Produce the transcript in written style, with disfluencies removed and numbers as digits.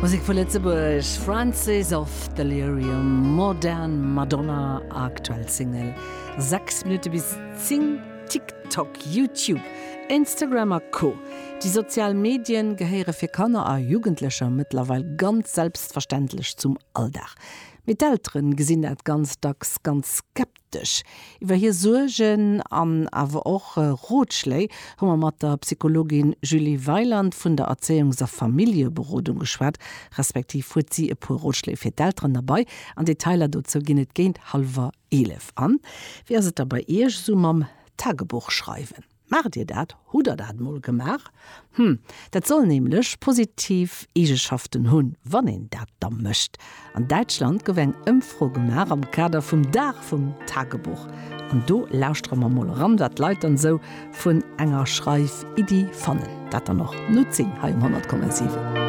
Musek vu Lëtzebuerg, Francis of Delirium, Modern Madonna, aktuell Single. 6 Minutte bis 10, TikTok, YouTube, Instagram a Co. Déi sozial Medien gehéiere fir Kanner a Jugendlecher mëttlerweil ganz selbstverständlech zum Alldag. Mee d'Elteren gesinn dat ganz dacks ganz skeptesch. Dech. Iwwer hir Suergen an awer och Rotschléi hu mer mat der Psychologin Julie Weiland vun der Erzéiungs a Familljeberodung geschwat, respektiv huet si e puer Rotschléi fir d'Elteren derbei. An Detailer dozou ginn et géint hallwer 11. An wéi ass et da bei Iech esou mam Tagebuch schreiwen? Maacht Dir dat? Hutt Der dat mol gemaach? Hm, dat soll nämlech positiv Eegeschaften hunn, wann een dat da mécht. An Däitschland gouf eng Ëmfro gemaach am Kader vum Dag vum Tagebuch. An do lauschtere mer mol eran, wat d'Leit dann esou vun enger Schreif-Iddi fannen. Dat dann och no 10 hei um 100,7.